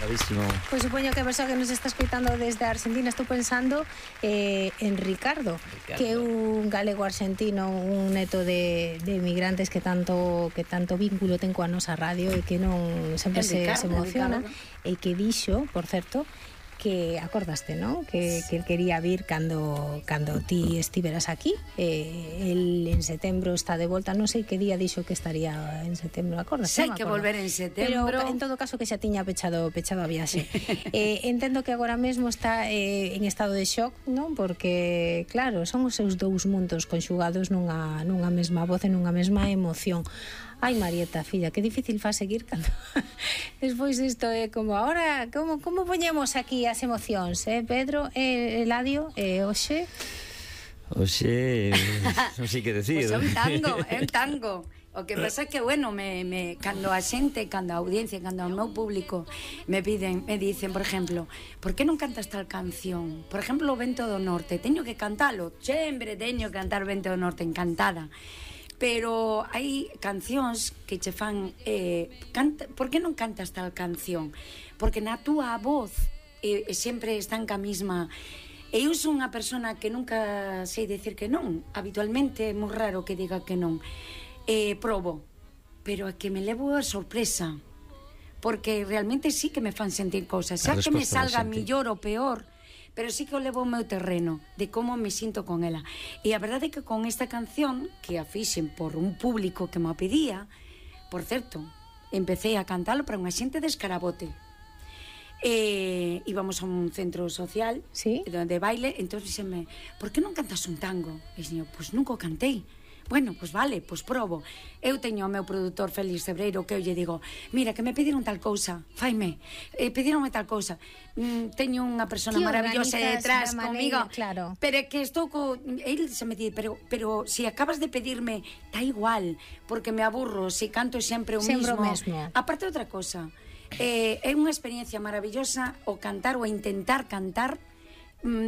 Bravísimo. Pois supoño que a persoa que nos está escoitando desde Argentina estou pensando en Ricardo, que é un galego argentino, un neto de emigrantes que tanto vínculo ten coa nosa radio e que non sempre se emociona, e que dixo, por certo, que acordaste, non? Que el quería vir cando ti estiveras aquí. El en setembro está de volta, non sei que día dixo que estaría en setembro, acordaste? Sei que volver en setembro. Pero en todo caso que xa tiña pechado a viaxe. Entendo que agora mesmo está en estado de shock, non? Porque, claro, son os seus dous mundos conxugados nunha mesma voz e nunha mesma emoción. Ai, Marieta, filla, que difícil fa seguir cando despois isto é como ahora, como poñemos aquí as emocións, Pedro, Eladio, hoxe? Hoxe, non sei que decir. Pois é un tango. O que pasa é que, bueno, cando a xente, cando a audiencia, cando o meu público me dicen, por exemplo, por que non cantas tal canción? Por exemplo, o Vento do Norte, teño que cantalo, sempre teño que cantar Vento do Norte, encantada. Pero hai cancións que che fan por que non cantas tal canción? Porque na túa voz sempre están ca mesma. Eu son unha persona que nunca sei decir que non. Habitualmente é moi raro que diga que non. Probo, pero é que me levo a sorpresa, porque realmente sí que me fan sentir cousas, xa que me salga millor ou peor, pero sí que o levo ao meu terreno de como me sinto con ela. E a verdade é que con esta canción, que a fixen por un público que me a pedía, por certo, empecé a cantalo para unha xente de Escarabote. Íbamos a un centro social, ¿sí?, de baile, entón dixeme, por que non cantas un tango? E dixen, pois nunca o cantei. Bueno, pois vale, pois probo. Eu teño o meu produtor Félix Cebreiro que eu lle digo, mira, que me pediron tal cousa, faime, pedironme tal cousa. Teño unha persona maravillosa detrás comigo, claro. Pero é que estou el se me di, pero si acabas de pedirme, tá igual, porque me aburro se canto sempre o mesmo. Aparte outra cousa, é unha experiencia maravillosa o cantar ou intentar cantar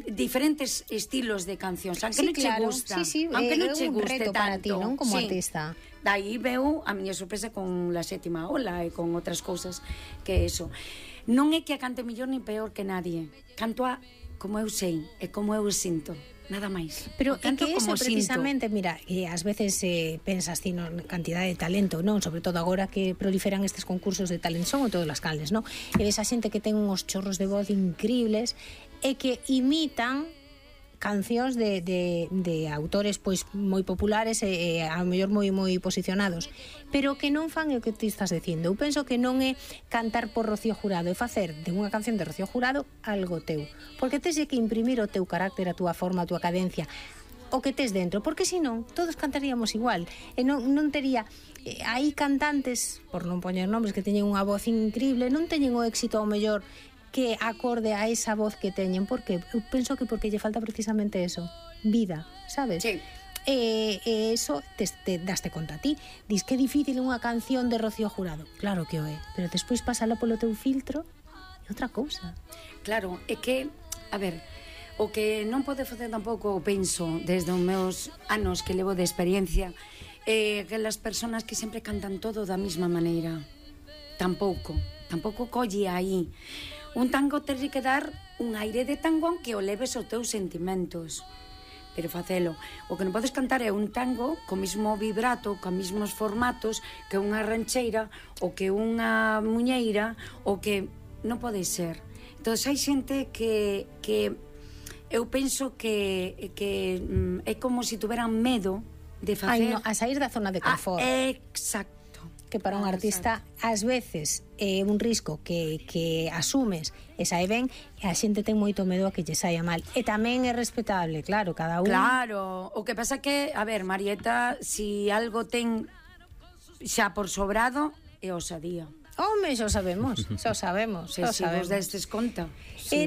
diferentes estilos de cancións, aunque non che gusta, aunque non che guste tanto para ti, non, como artista. Daí veu a miña sorpresa con La Sétima Ola e con outras cousas que eso. Non é que a cante mellor ni peor que nadie, canto a como eu sei e como eu sinto, nada máis. Pero en que eso precisamente, mira, ás veces pensas ti na cantidad de talento, non? Sobre todo agora que proliferan estes concursos de talento, son todas as calles, non? E ves a xente que ten uns chorros de voz increíbles e que imitan cancións de autores pois moi populares e ao mellor moi posicionados, pero que non fan o que ti estás dicindo. Eu penso que non é cantar por Rocío Jurado, é facer de unha canción de Rocío Jurado algo teu, porque tes que imprimir o teu carácter, a túa forma, a túa cadencia, o que tes dentro, porque senón todos cantaríamos igual e non tería. Hai cantantes, por non poñer nombres, que teñen unha voz increíble, non teñen o éxito ao mellor que acorde a esa voz que teñen, porque eu penso que porque lle falta precisamente eso, vida, sabes? Sí. Eso te daste conta a ti. Dis que é difícil unha canción de Rocío Jurado, claro que o é, pero despois pásala polo teu filtro e outra cousa. Claro, é que, a ver, o que non pode facer tampouco, penso, desde os meus anos que levo de experiencia, que as persoas que sempre cantan todo da mesma maneira, tampouco colle aí. Un tango terlle que dar un aire de tango aunque o leves aos teus sentimentos, pero facelo. O que non podes cantar é un tango co mismo vibrato, co mismos formatos que unha rancheira ou que unha muñeira, ou que non pode ser. Entón hai xente que eu penso que é como se tuveran medo de facer a sair da zona de confort. Exacto. Que para un artista ás veces é un risco que asumes e sae ben, e a xente ten moito medo a que lle saia mal, e tamén é respetable, claro, cada un. Claro, o que pasa que, a ver, Marieta, si algo ten xa por sobrado é osadía. Home, xa sabemos. Se vos destes conta.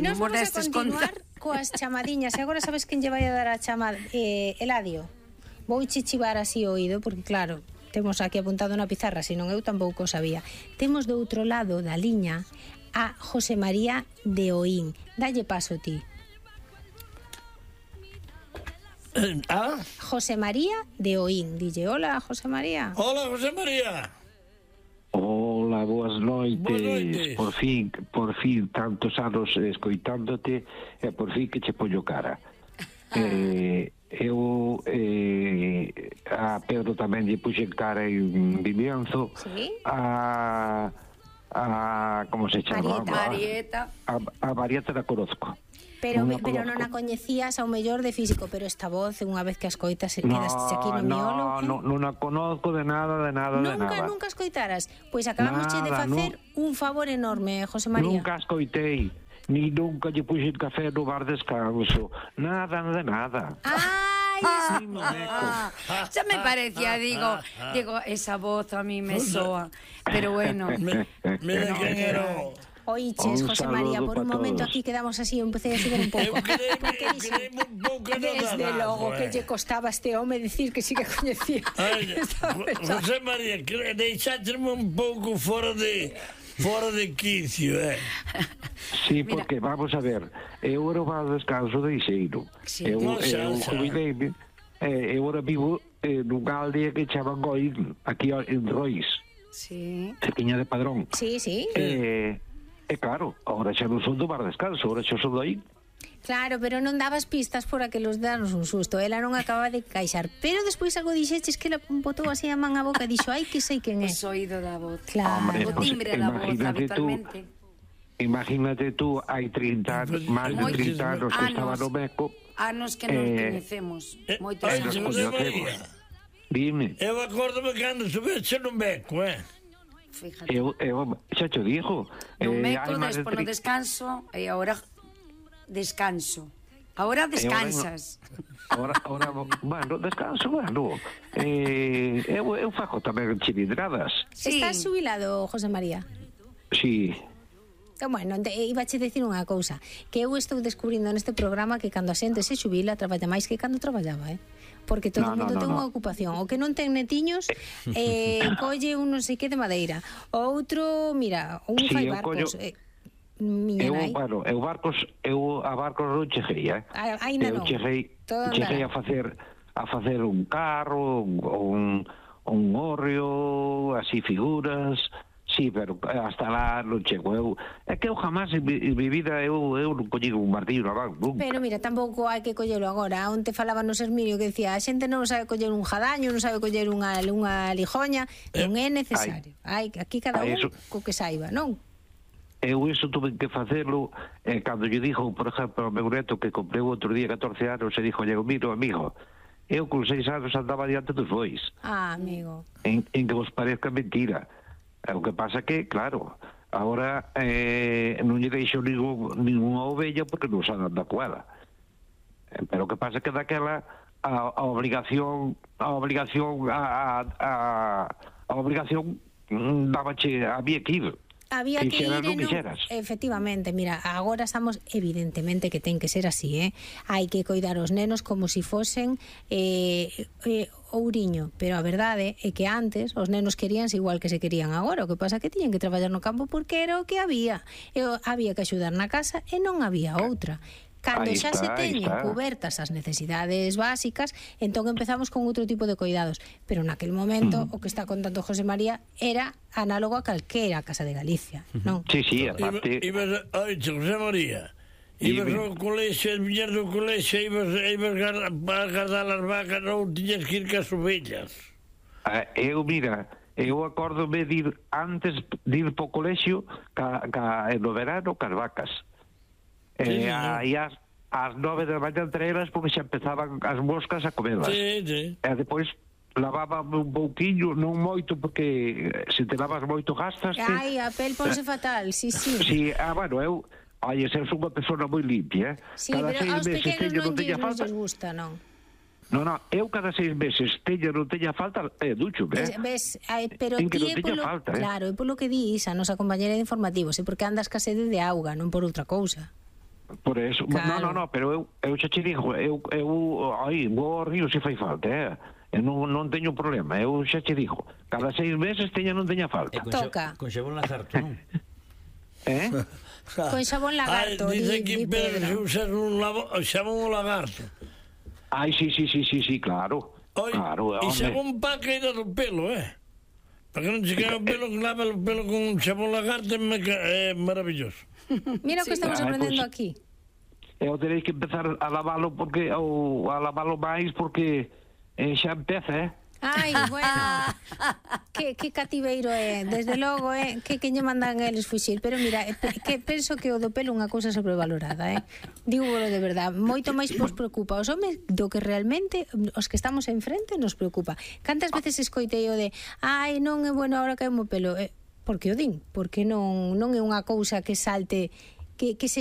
Nos vamos a continuar coas chamadiñas, e agora sabes quen lle vai a dar a chamada? Eladio, vou chichivar así o oído, porque claro, temos aquí apuntado na pizarra, senón eu tampouco sabía. Temos do outro lado da liña a José María de Oín. Dalle paso ti. José María de Oín. Dille, hola, José María. Hola, José María. Hola, boas noites. Por fin, tantos anos escoitándote, e por fin que che poño cara. Eu a Pedro tamén lle puxen cara en Vimianzo. Sí. A como se chama? Marieta. A Marieta la conozco. Pero non a coñecías ao mellor de físico, pero esta voz, unha vez que a escoitas, quedaste aquí no miolo. Non a conozco de nada. Nunca escoitaras. Pois acabamos de facer un favor enorme, José María. Nunca escoitei, ni nunca lle puxen café no bar descanso. Nada. Ya me parecía, digo, esa voz a mí me soa, pero bueno. Mira quen era. Oiches, José María, por un momento aquí quedamos así, empecé a subir un pouco. Desde logo que lle costaba a este home decir que sí que coñecía. José María, deixáteme un pouco fora de quicio, Sí, porque, vamos a ver, eu era o bar descanso de Ixeiro. Eu jubileime, eu ahora vivo nunha aldea que chaman Goín, aquí en Rois. Sí. Cerquiña de Padrón. Sí. Claro, ahora xa non son do bar descanso, ahora xa son do aí. Claro, pero non dabas pistas por aquelos darnos un susto. Ela non acaba de caixar. Pero despois algo dixeches que ela botou así a man a boca e dixo, ai, que sei quen é. O oído da voz. Claro. Hombre, O timbre da voz, habitualmente. Imagínate tú, hai 30 anos, máis de 30 anos que estaba no Meco. Anos que non coñecemos. Moitos anos. Dime. Eu acórdome cando subese no Meco, Fíjate. Eu xa te digo. No Meco, despois no descanso, e agora descanso. Ahora descansas. Ahora, bueno, descanso, bueno. Eu fago tamén chilidradas. Sí. Estás xubilado, José María? Sí. Bueno, ibache decir unha cousa, que eu estou descubrindo neste programa que cando a xente se xubila traballa máis que cando traballaba, porque todo o mundo ten unha ocupación. O que non ten netiños colle un non sei que de madeira. O outro, mira, un fai barcos. Eu a barcos non cheguei, Ainda non. Cheguei a facer un carro, un hórreo, así figuras. Sí, pero hasta lá non chego. É que eu jamás en mi vida eu non colligo un martillo na man, nunca. Pero mira, tampouco hai que collelo agora. Onte falaba no Serminio que decía, a xente non sabe coller un jadaño, non sabe coller unha lijoña, non é necesario. Aquí cada un co que saiba, non? Eu iso tuve que facelo cando lle dixo, por exemplo, ao meu neto que comprei outro día 14 anos e dixo, mira, amigo, eu con 6 anos andaba diante dos bois. Amigo. En que vos parezca mentira. O que pasa que, claro, agora non lle deixo ninguna ovella porque non sabe andar coela. Pero o que pasa que daquela a obligación dabache, había que ir. Había que ir efectivamente, mira, agora estamos evidentemente que ten que ser así, hai que coidar os nenos como se fosen ouriño, pero a verdade é que antes os nenos queríanse igual que se querían agora, o que pasa que tiñen que traballar no campo porque era o que había que axudar na casa e non había outra. Cando xa se teñen cubertas as necesidades básicas, entón empezamos con outro tipo de cuidados. Pero naquel momento, o que está contando José María era análogo a calquera casa de Galicia, non? Sí, aparte... José María, ibas ao colexio, as miñas do colexio, ibas a guardar as vacas, non tiñas que ir cas ovellas. Eu acórdome de ir antes de ir po colexio no verano cas vacas. Aí ás 9 da mañá entre elas porque xa empezaban as moscas a comerlas. Sí. E depois lavaba un pouquiño, non moito porque se te lavas moito gastaste. Ai, a pel ponse fatal, sí. Sí, bueno, eu ser unha persona moi limpia. Sí, pero aos pequenos non lles gusta, non? Non, eu cada 6 meses non teña falta, ducho, ves, pero ti é polo, claro, é polo que dis a nosa compañera de informativos, é porque andas ca sede de auga, non por outra cousa. Por eso, claro. No, pero eu xa che digo, eu vou ao río se fai falta, non teño problema, eu xa che digo, cada 6 meses non teña falta. Toca. Con xabón lagarto, non? Con xabón lagarto, dice aquí Pedro se usar un xabón lagarto. Ai, sí, claro. E xabón pa caída do pelo, Para que non se cae o pelo, lava o pelo con xabón lagarto, é maravilloso. Mira o que estamos aprendendo aquí. Eu teréis que empezar a lavalo porque ou a lavalo máis porque xa empeza, Ai, bueno, que cativeiro é, desde logo, que lle mandan eles fuxir, pero mira, que penso que o do pelo é unha cousa sobrevalorada, Dígolo de verdad, moito máis vos preocupa os homes do que realmente os que estamos enfrente nos preocupa. Cantas veces escoitei o de, ai, non é bueno agora que hai o pelo, por que o din? Porque non é unha cousa que salte, que se